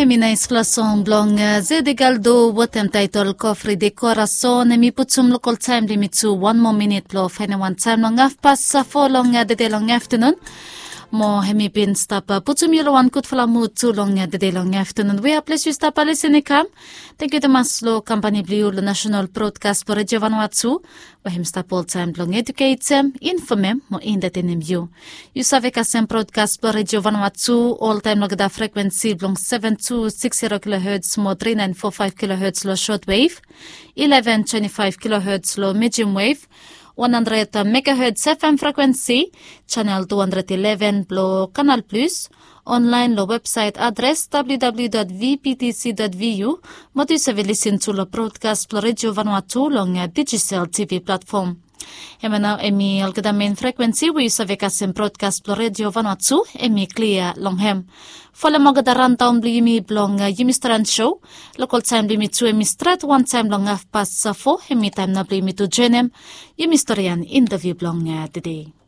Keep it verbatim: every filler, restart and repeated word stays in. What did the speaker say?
Em i naispela song bilong Zedigaldo wetem taitol Kofri de Korason. Em i putum lokal taim blong yumi tu wan moa minit blong faindaun wantaim long hafpas fo long dede long aftanun. Mo em i bin stap putum yu long wan gutfala mut tu long dede long aftanun. We a ples yu stap lisin i kam. Tenkyu tumas long kampani bilong yu long National Broadcast bilong Redio Vanuatu, we em stap oltaim bilong eduketem, infomem mo entertainim yu. Yu save kasem broadcast bilong Redio Vanuatu oltaim long olgeta frekuensi bilong seven two six zero kilohertz mo three nine four five kilohertz long shortwave, eleven twenty five kilohertz long medium wave, one hundred megahertz F M frekuensi, channel two hundred eleven bilong Canal Plus, online long website adres W W W dot V P T C dot V U, mo tu yu save lisin tu long broadcast bilong Redio Vanuatu long Digicel T V platform. Em ya nau em i olgeta main frekuensi we yu save kasem broadcast bilong Redio Vanuatu, em i klia long em. Folem olgeta rundown bilong yumi bilong Yumi Stret Show. Lokal taim bilong yumi tu em i stret wantaim long hafpas fo, em i taim nau bilong yumi tu joinim yumi storian interview bilong dede.